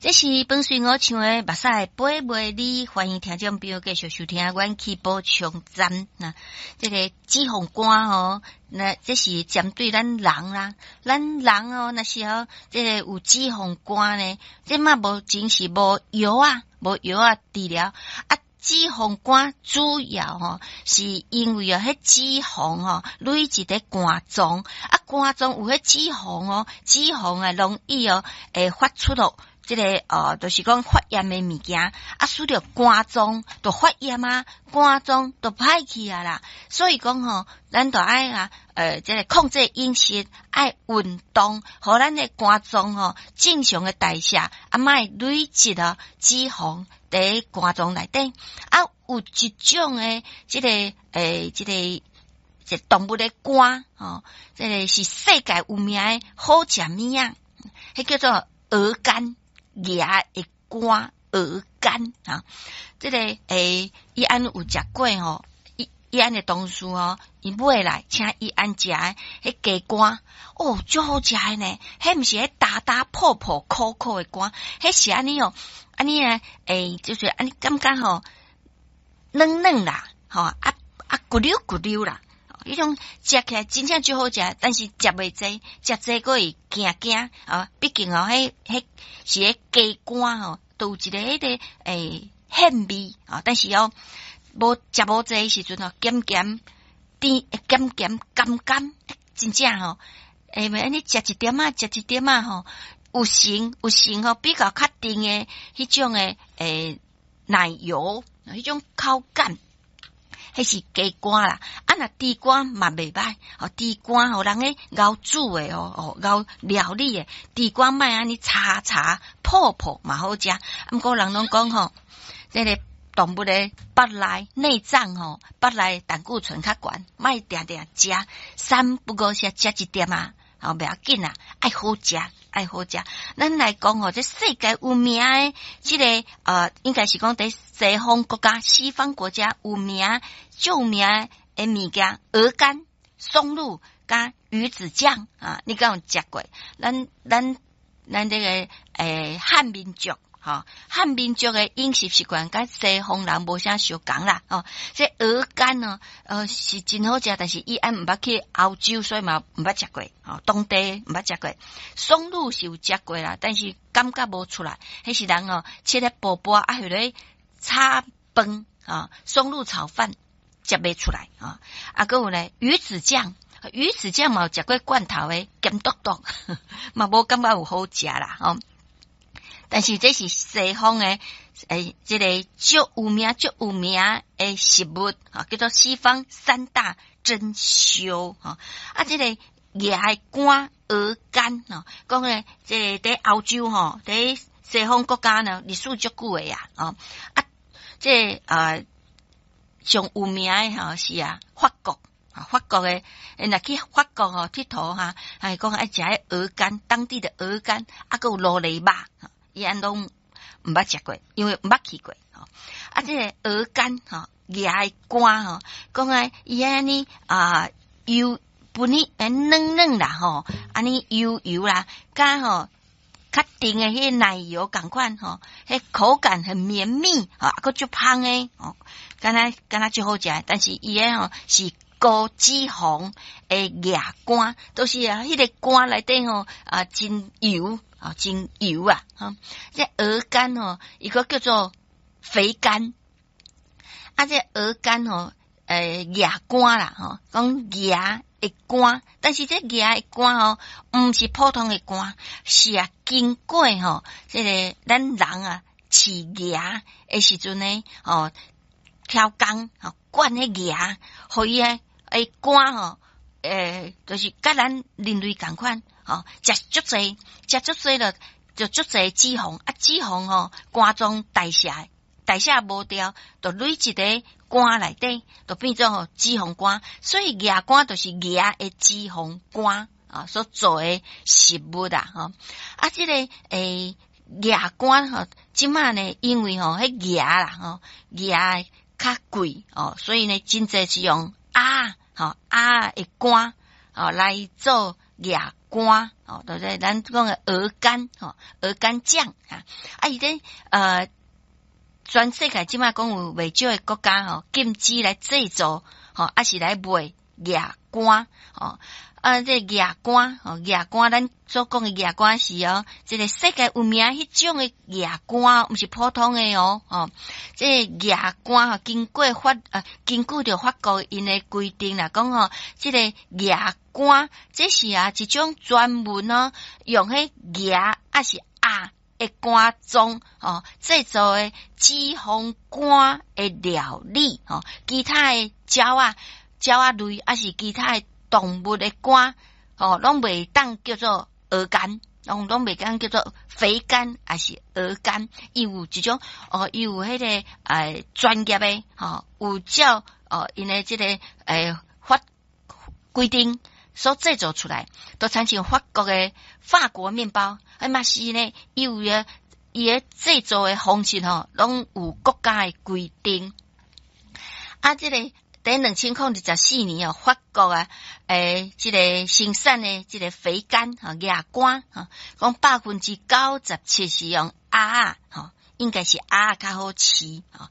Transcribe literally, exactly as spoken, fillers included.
這是本隨我唱的《目屎飛袂離》，歡迎聽眾朋友繼續收聽阮去補充站。那這個脂肪肝吼，那這是針對咱人啦，咱人哦，若是吼，這個有脂肪肝呢，這嘛無真是無藥啊，無藥啊治療啊。脂肪肝主要吼是因為啊，彼脂肪吼累積佇肝臟，啊肝臟有彼脂肪哦，脂肪啊容易哦會發出咯，這個呃，就是講發炎的物件，啊，使著肝臟就發炎啊，肝臟就歹去啊啦。所以講吼，咱就愛啊，呃，這個控制飲食，愛運動，予咱的肝臟吼正常的代謝，啊，莫累積哦脂肪佇肝臟內底。啊，有一種的這個欸，這個這動物的肝吼，這個是世界有名的好食物仔，彼叫做鵝肝。鵝的肝，鵝肝啊，這個欸，伊按有食過吼，伊伊按的同事吼，伊買來請伊按食的，彼雞肝哦，足好食的呢。彼毋是彼焦焦泡泡苦苦的肝，彼是按呢哦，按呢啊，欸，就是按呢感覺吼，軟軟啦，吼啊啊骨溜骨溜啦。彼種食起來真正足好食，但是食袂濟，食濟閣會驚驚啊！畢竟哦，彼彼是彼雞肝吼，都有一个彼个欸腥味啊。但是哦，無食無濟時陣哦，鹹鹹甜鹹鹹甘甘，真正吼，欸，按呢食一點仔，食一點仔吼，有成有成吼，比較較甜的彼種的欸奶油，彼種口感。彼是雞肝啦，啊若豬肝嘛袂䆀，哦豬肝吼人咧𠢕煮的哦，哦𠢕料理的豬肝莫按呢柴柴泡泡嘛好食。毋過人攏講吼，這個動物的腹內內臟吼，腹內膽固醇較懸，莫定定食，三不五時食一點仔，吼袂要緊啦，愛好食，愛好食。咱來講吼，這世界有名的這個呃，應該是講佇西方國家、西方國家有名、著名的物件，鵝肝、松露佮魚子醬啊，你敢有食過？咱咱咱這個欸漢民族。吼，漢民族的飲食習慣佮西方人無啥相仝啦。吼，這鵝肝哦，呃是真好食，但是伊按毋捌去歐洲，所以嘛毋捌食過。吼，當地毋捌食過。松露是有食過啦，但是感覺無出來。彼是人哦，切咧薄薄啊，予咧炒飯啊，松露炒飯食袂出來啊。啊，閣有咧魚子醬，魚子醬嘛有食過罐頭的，鹹篤篤，嘛無感覺有好食啦，吼。但是這是西方的，欸，這個足有名、足有名的食物，啊，叫做西方三大珍饈，吼。啊，這個鵝的肝、鵝肝，吼，講咧，這個佇歐洲吼，佇西方國家呢，歷史足久的啊，吼。啊，這個啊，上有名的吼是啊，法國。法國的，若去法國吼𨑨迌哈，還講愛食彼鵝肝，當地的鵝肝，啊，閣有鱸魚肉。伊按攏毋捌食過，因為毋捌去過。吼，啊，這個鵝肝吼，鵝的肝吼，講啊，伊按呢啊油分呢，軟軟啦吼，按呢油油啦，佮吼較甜的彼個奶油仝款吼，彼口感很綿密，啊，閣足芳的，吼，敢若敢若足好食，但是伊的吼是高脂肪的鵝肝，都是啊，彼個肝內底吼啊真油。啊，真油啊！哈，這鵝肝吼，伊閣叫做肥肝。啊，這鵝肝吼，欸，鵝肝啦，吼，講鵝的肝，但是這鵝的肝吼，毋是普通的肝，是啊，經過吼，這個咱人啊飼鵝的時陣呢，吼，挑工吼，管彼鵝，予伊的肝吼，欸，就是佮咱人類仝款。吼，食足濟，食足濟了，就足濟脂肪，啊，脂肪吼，肝臟代謝，代謝無掉，就累積佇肝內底，就變做吼脂肪肝。所以鵝肝就是鵝的脂肪肝啊，所做的食物啊，吼。啊，這個欸鵝肝吼，這馬呢，因為吼彼鵝啦，吼鵝較貴哦，所以呢，真濟是用鴨吼鴨的肝哦來做鵝。肝，吼，對不對？咱講的鵝肝，吼，鵝肝醬啊，啊，伊咧呃，全世界這擺講有袂少的國家吼，禁止來製造，吼，抑是來賣鵝肝，吼。啊，這個鵝肝，吼，鵝肝，咱所講的鵝肝是哦，這個世界有名彼種的鵝肝，毋是普通的哦，吼，這個鵝肝吼，經過法啊，根據著法國𪜶的規定啦，講吼，這個鵝肝，這是啊一種專門哦，用彼鵝抑是鴨的肝臟吼製作的脂肪肝的料理，吼，其他的鳥仔、鳥仔類，抑是其他的動物的肝，吼，攏袂當叫做鵝肝，攏攏袂當叫做肥肝，抑是鵝肝。伊有一種哦，伊有彼個呃專業的，吼，有照哦，𪜶的這個呃法規定所製作出來，都親像法國的法國麵包，啊嘛是呢，伊有個伊的製作的方式吼，攏有國家的規定。啊，這個。佇兩千零二十四年哦，法國啊，欸，這個生產的這個肥肝吼鵝肝吼，講百分之九十七是用鴨仔吼，應該是鴨仔較好飼吼。